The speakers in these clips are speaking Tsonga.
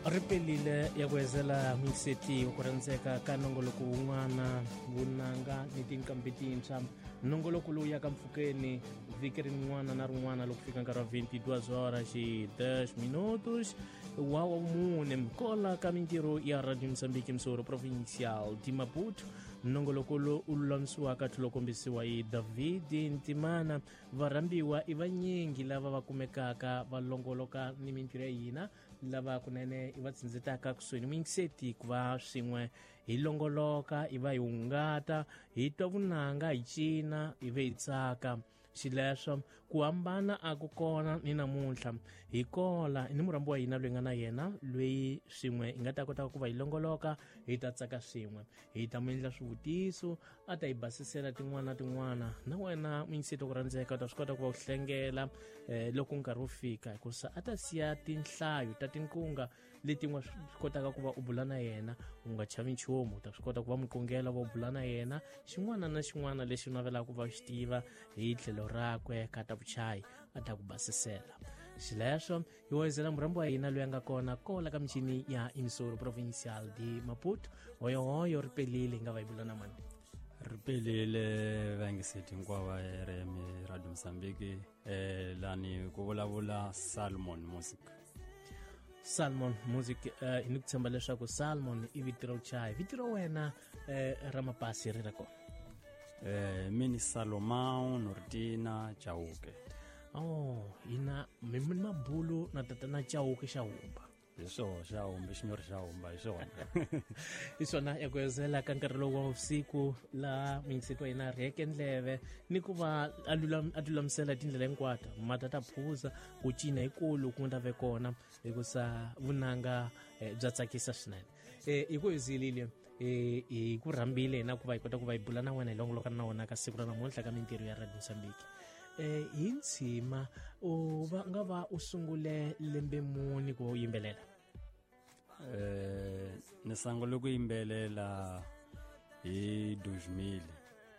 Ri pelile ya ku hezela muyiseti wa ku rhandzeka ka nongoloko wun'wana vunanga ni tinqambi tintshwa. Nongoloko lowu yaka mpfhukeni vhiki rin'wana na rin'wana loko fika nkarhi wa 22 horas e 10 minutos wa mune kola ka mintirho ya Radio Mozambique, Msoro Provincial de Maputo. Nongoloko lowu u lulamisiwaka tlhelo kombisiwa hi David Ntimana. Varhambiwa i vanyingi lava va kumekaka va longoloka ni mintirho ya hina, lava kunene i va tsindzitaka kusuhi ni muyingiseti ku va swin'we hi longoloka, i va hi hungata, hi twa vunanga, hi cina, hi ve hi tsaka. Xileswo ku hambana a ku kona ni namuntlha. Hi kola ni murhambi wa hina loyi nga na yena, loyi swin'we hi nga ta kota ku va hi longoloka, hi ta tsaka swin'we, hi ta mu endla swivutiso, a ta hi basisela tin'wana na tin'wana. Na wena muyingiseti wa ku rhandzeka u ta swi kota ku va u hlengela loko nkarhi wu fika, hikusa a ta siya tinhlayo ta tinkunga leti nga swi kotaka ku va u bula na yena, u nga chavi nchumu. U ta swi kota ku va muqongela va u bula na yena xin'wana na xin'wana lexi u navelaka ku va u xi tiva hi tlhelo rakwe ka ta vuchayi, a ta ku basisela. Xileswo hi wayizela murhambi wa hina loyi a nga kona kola ka michini ya Emissora Provincial de Maputo. Hoyohoyo, ri pelile, hi nga va hi bula na mani? Ri pelile vayingiseti hinkwavo va RM Radio Mozambique. Lani ku vulavula Salmon Music. Salmon Music, hi ni ku tshemba leswaku Salmon i vito ra vuchayi, vito ra wena ra mapasi ri ra kona? Mini Salomão Nortina Chauke. Oh, hina mi mi mabulu na tatana Chauke xa humba. Hi swona, xa humba, xinyori xa humba, hi swona. Hi swona, ya ku hezela ka nkarhi lowu wa vusiku laha muyingiseti wa hina rheke ndleve ni ku va a lulamisela tindlela hinkwato, mata ta phuza, ku cina hikulu ku nga ta ve kona, hikusa vunanga bya tsakisa swinene. Hi ku hezilile, hi ku rhambile hina ku va hi kota ku va hi bula na wena, hi longoloka na wena ka siku ra namuntlha ka mintirho ya Radio Mozambique. Hi ntshima u va nga va u sungule lembe muni ku va u yimbelela? Ni sungule ku yimbelela hi 2000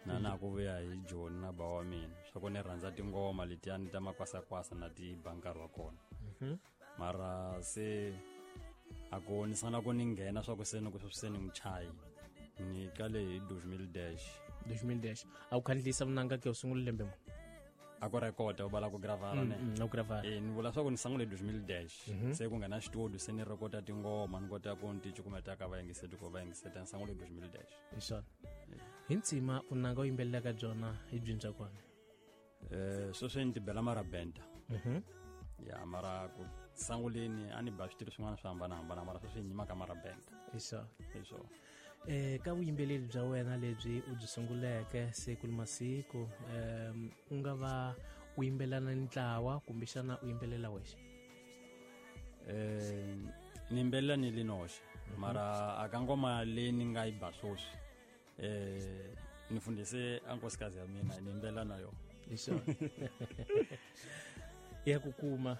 na ku vuya hi Joni na ba wa mina, swa ku ni rhandza tingoma letiyani ta makwasakwasa na ti ba nkarhi wa kona. Mara se a ku ni sungula ku ni nghena swa ku se ni ku se ni muchayi, ni kale hi 2000 dash. 2000 dash a wu khandlisa vunanga ke u sungule lembe muni? A ku rekoda u vala ku gravara ne? A ku gravara. Ni vula swa ku ni sungule 2000 dash, se ku nghena xitudio, se ni rekota tingoma, ni kota ku ni ti cukumeta ka vayingiseti, ku vayingiseta. Ni sungule 2000 dash. Hi swona. Hi ntsima vunanga u yimbelelaka byona hi byini bya kona? Sweswi ni tibela marabenta. Ya, mara ku sanguleni a ni ba switiri swin'wana swo hambanahambana, mara sweswi ni yima ka marabenta. Hi swona. Hi swona. Ka vuyimbeleri bya wena lebyi u byi sunguleke siku ni masiku, u nga va u yimbelela ni ntlawa kumbexana u yimbelela wexe? Ni yimbelela ni li noxe, mara a ka ngoma leyi ni nga yi ba sweswi, ni fundhise a nkosikazi ya mina, ni yimbelela na yona. Hi swona, ya ku kuma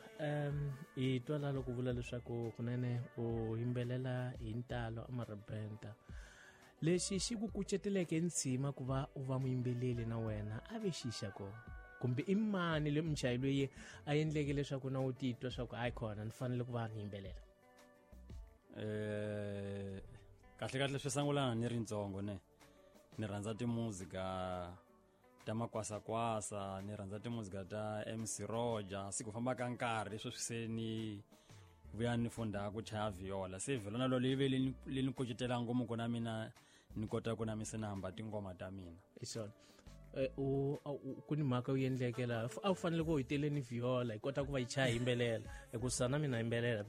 hi twa la loko vula leswaku kunene u yimbelela hi ntalo amarabenta. Lexi xi ku kuceteleke ntshima ku va u va muyimbeleli na wena a ve xixa ko, kumbe i mani le muchayi loyi a endleke leswaku na u titwa swa ku hayi khona ni fanele ku va ni yimbelela? Kahle kahle swi sungulana ni ri ntsongo, ne ni rhandza timuzika ta makwasakwasa, ni rhandza timuzika ta MC Roger. Siku famba ka nkarhi sweswi se ni vuya ni funda ku chaya viola, se viola na lolo yi ve leyi ni kucetela ngopfu ku na mina ni kota ku na mi se ni hamba tingoma ta mina. Hi swona. U ku ni mhaka u endleke laha, a wu fanele ku hi tele ni viola hi kota ku va yi chaya yimbelela, hikusa na mina yimbelela.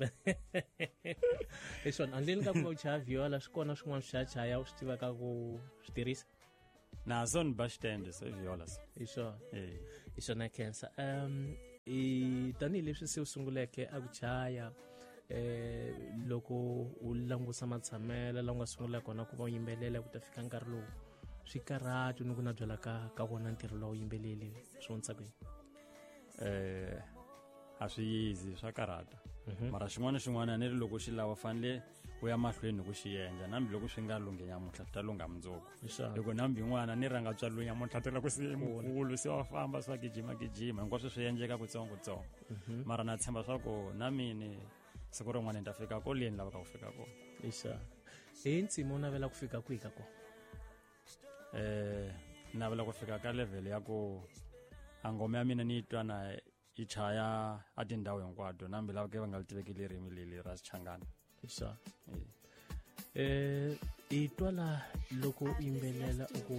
Hi swona, handleni ka ku va u chaya viola, swi kona swin'wana swi chayachaya u swi tivaka ku swi tirhisa? Na so ni ba xitende, so i viola so. Hi swona. Hi swona, khensa. I tanihileswi se u sunguleke a ku chaya, loko u langusa matshamelo la u nga sungula kona ku va u yimbelela ku ta fika nkarhi lowu, swi karhati ni ku na byela ka wona ntirho lowu yimbeleli swi vonisa ku yini? A swi yizi, swa karhata, mara xin'wana na xin'wana ni ri loko xi lava fanele u ya mahlweni ku xi endla, nambi loko swi nga lunghi nyamuntlha swi ta lungha mundzuku. Loko nambi n'wana ni ranga tswariwe nyamuntlha ta loko se mukulu se wa famba swa gijima gijima, hinkwaswo swi endleka kutsongo kutsongo. Mara na tshemba swa ku na mini Siku rin'wana ni ta fika ko leyi ni lavaka ku fika kona. Ixa hi ntsima u navela ku fika kwihi ka kona? Navela ku fika ka level ya ku a ngoma ya mina ni yi twa na yi chaya a tindhawu hinkwato, na hambi lava ke va nga li tiveki ririmi leli ra Xichangana. Ixa i twa la loko u yimbelela u ku